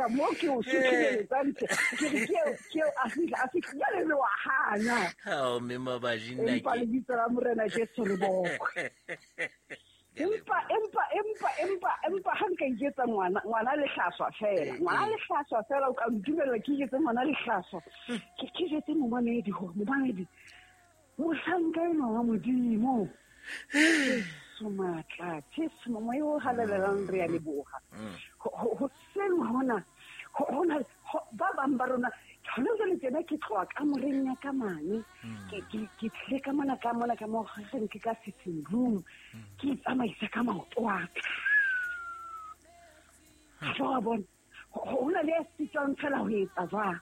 fihla mo ke o sutlheletsang ke re ke a fihla jwale le wa hana. Ao, mme Mabaji, nna Empa lebitso la Morena Jesu re bokwe. Empa ha nka iketsa ngwana lehlaswa fela. Ngwana lehlaswa fela, o ka ntumella ke iketse ngwana lehlaswa. Ke jetse momamedi hore momamedi, mohlanka enwa wa Modimo. Jesu matla, Jesu moya o halalelang, re a leboha. Ho seng hona, hona, ba bang ba rona, hona jwale tjena ke tloha kamoreng ya ka mane. Ke tlile ka mona, ka mona, ka mo reng ke ka sitting room. Ke itsamaisa ka maoto a ka. Ha wa bona, ho na le ya sitwang fela ho etsa jwang.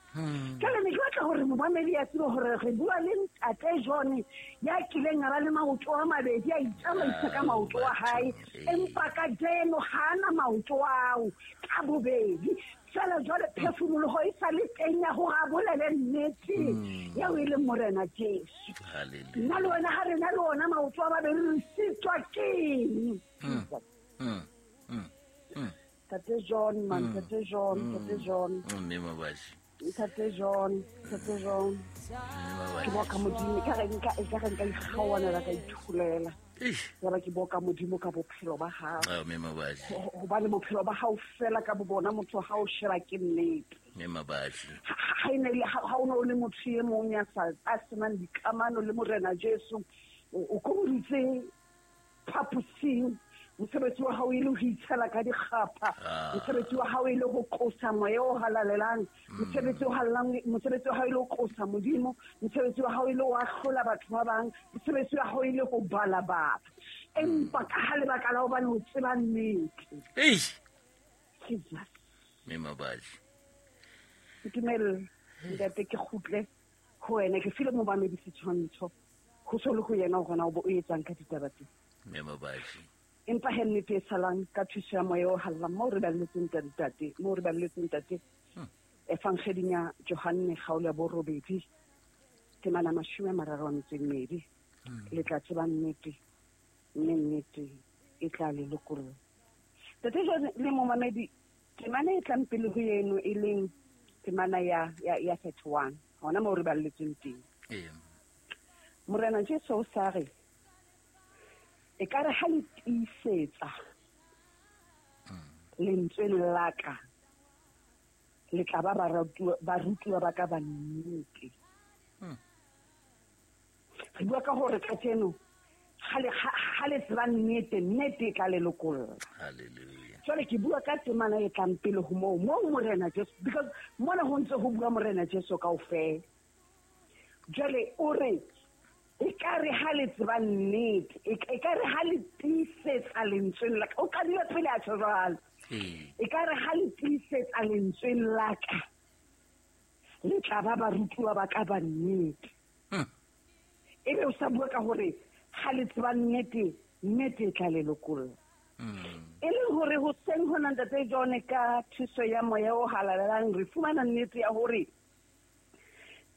Jwale ne ke batla hore momamedi a tsebe hore re bua le ntate John ya kileng a ba le maoto a mabedi, a itsamaisa ka maoto a hae, empa kajeno ha ana maoto ao ka bobedi. Fela jwale phefumoloho e sa le teng ya hore a bolele nnete eo e leng Morena Jesu. Nna le wena ha re na le ona maoto a mabedi re sitwa keng? Ntate John, man, Ntate John, Ntate John. Mme Mabaji. Ntate John, Ntate John. Ke boka Modimo, e ka re nka ikgaoanela ka ithulela. Ya ba ke boka Modimo ka bophelo ba hao. Ah, mme Mabaji. Hobane bophelo ba hao fela ka bo bona motho ha o sheba ke nnete. Mme Mabaji. Ha e ne le ha o ne o le motho e mong ya sa a senang dikamano le Morena Jesu, o komoditse phaposing. Mosebetsi wa hao e le ho itshela ka dikgapha. Mosebetsi wa hao e le ho qosa moya o halalelang. Mosebetsi wa halalelang, mosebetsi wa hao e le ho qosa Modimo. Mosebetsi wa hao e le ho ahlola batho ba bang. Mosebetsi wa hao e le ho bala batho. Empa ka ha lebaka la hobane o tseba nnete. Eish. Jesus. Mme Mabaji. Ntumelle, ntate, ke kgutle ho wena. Ke file momamedi setshwantsho. Ho so le ho yena hore na o bo o etsang ka ditaba tse. Mme Mabaji. Empa he nnete e salang ka thuso ya moya o hallang moo re balletseng ntate, moo re balletseng ntate. Evangeding ya Johanne kgaolo ya borobedi, temana 32. Le tla tseba nnete, mme nnete e tla le lokolla. Ntate John le momamedi, temana e tlang pele ho eno e leng temana ya 31, hona moo re balletseng teng. Morena Jesu o sa re, e ka re ha le tiisetsa lentsweng la ka, le tla ba barutuwa ba ka ba nnete. Re bua ka hore kajeno ha le tseba nnete, nnete e tla le lokolla. Hallelujah. Jwale ke bua ka temana e tlang pele ho moo, moo Morena Jesu, because mona ho ntse ho bua Morena Jesu kaofela. Jwale o re, e ka re ha le tseba nnete, e ka re ha le tiisetsa lentsweng la ka. O qadile pele a tjho jwalo. E ka re ha le tiisetsa lentsweng la ka, le tla ba barutuwa ba ka ba nnete. Ebe o sa bua ka hore ha le tseba nnete, nnete e tla le lokolla. E leng hore hoseng hona ntate John ka thuso ya moya o halalelang re fumana nnete ya hore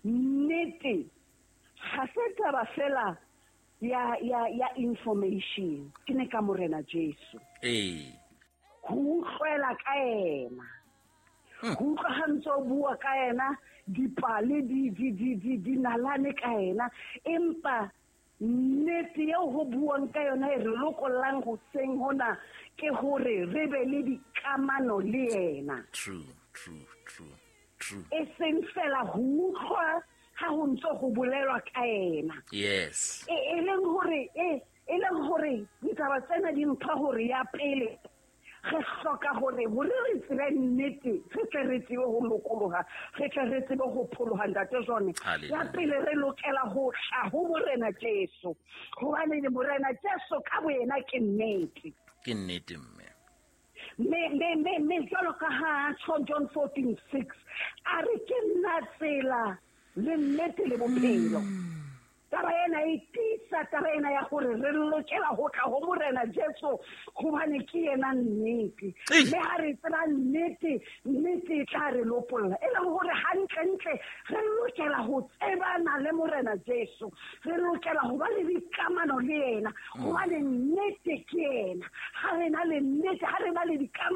nnete ha se taba fela ya information, ke ne ka Morena Jesu. Ho utlwela ka yena. Ho utlwa ha ntse o bua ka yena, dipale di nalane ka yena, empa nnete eo ho buang ka yona e re lokollang hoseng hona ke hore re be le dikamano le yena. True, true, true, true. E seng fela ho utlwa ha ho ntse ho bolelwa ka yena. Yes. E leng hore ditaba tsena di mpha hore ya pele re hloka hore re tsebe nnete, re tle re tsebe ho lokoloha, re tle re tsebe ho pholoha ntate John. Ya pele re lokela ho tla ho Morena Jesu, hobane Morena Jesu ka boyena ke nnete. Ke nnete mme. Me jwalo ka ha tjho John 14:6, a re ke nna tsela le nnete le bophelo. Taba ena e tiisa taba ena ya hore re lokela ho tla ho Morena Jesu hobane ke yena nnete. Mme ha re tseba nnete, nnete e tla re lopolla. E leng hore hantlentle re lokela ho tsebana le Morena Jesu. Re lokela ho ba le dikamano le yena hobane nnete ke yena. Ha re na le nnete, ha re na le dikamano